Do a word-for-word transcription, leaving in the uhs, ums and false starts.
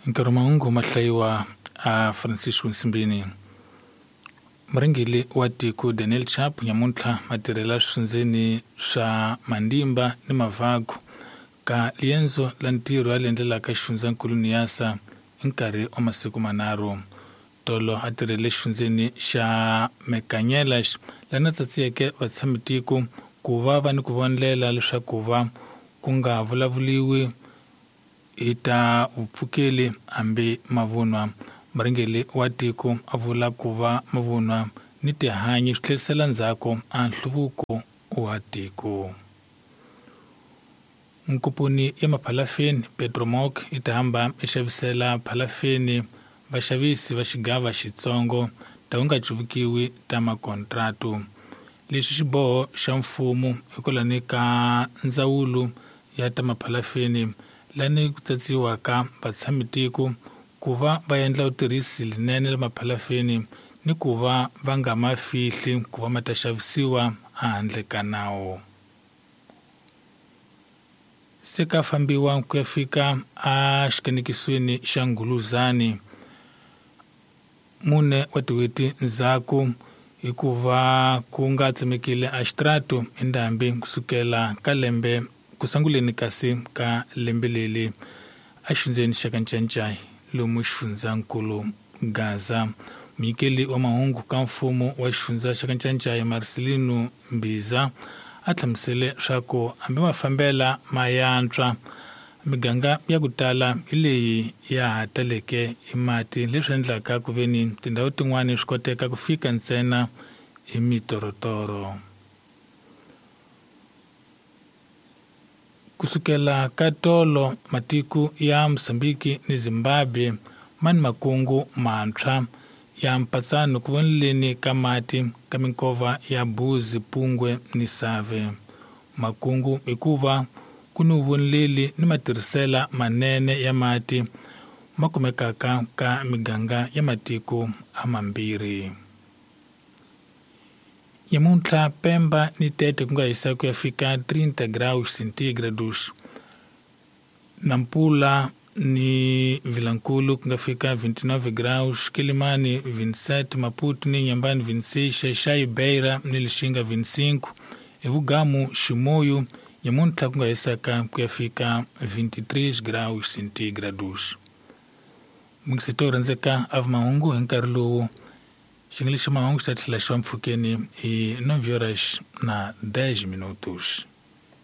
Nkarhi mahungu ma hlayiwa a Francisco Nsimbini. Murhangeri wa tiko Daniel Chapo nyamuntlha matirhela swifundzeni swa Mandimba ni Mavagu ka liendzo la ntirho a endlelaka xifundzankulu Niassa hi nkarhi wa masiku manharhu. Tolo a tirhele xifundzeni xa Mekanyelas lana tsatsiyeke vatshamitiko ku va va ni ku vonela leswaku va ku nga vulavuliwi hi ta vupfukeli hambi mavunwa. Murhangeri wa tiko a vula ku va mavunwa ni tihanyi swi tlherisela ndzhaku a nhluvuko wa tiko. Nkomponi ya maphalafeni Petromoc yi ta hamba yi xavisela phalafeni vaxavisi va xigava xitsongo ta ku nga cuvukiwi ta makontratu. Lexi xiboho xa mfumo hikwalani ka ndzawulo ya ta maphalafeni lani ku tsatsiwaka vatshamitiko ku va va endla vutirhisi linene la maphalafeni ni ku va va nga ma fihli ku va ma ta xavisiwa handle ka nawu. Se ka fambiwa ku ya fika a xikanekisweni xa Nguluzani mune wa tin'hweti ndzhaku hikuva ku nga tsemekile a xitrato endhambi kusukela ka lembe ku sunguleni kasi ka lembe leli a xifundzeni xa Kanchanchai lomu xifundzankulu Gaza. Munyikeli wa mahungu ka mfumo wa xifundza xa Kanchanchai Marcelino Mbiza a hlamusele swa ku hambi mafambela ma yantswa miganga ya ku tala hi leyi ya ha taleke hi mati leswi endlaka ku veni tindhawu tin'wani swi koteka ku fika ntsena hi mitorotoro. Kusukela ka tolo matiko ya Mozambique ni Zimbabwe ma ni makungu mantshwa ya mpatsano ku voneleni ka mati ka minkova ya Buzi, Pungwe ni Save. Makungu hikuva ku ni vuvoneleli ni matirhisela manene ya mati ma kumekaka ka miganga ya matiko a mambirhi. Nyamuntlha Pemba ni Tete ku nga hisa ku ya fika trinta graus centígrados. Nampula ni Vilankulu ku nga fika vinte e nove graus, Quelimane vinte e sete, Maputo ni Inhambane vinte e seis, Xai-Xai, Beira ni Lixinga vinte e cinco, Evugamu, Chimoio nyamuntlha ku nga hisaka ku ya fika vinte e três graus centígrados. Mungisito rhandzeka a mahungu hi nkarhi lowu xingelexi mahungu xa tlhela xi va mpfhukeni hi nove horas na dez minutos.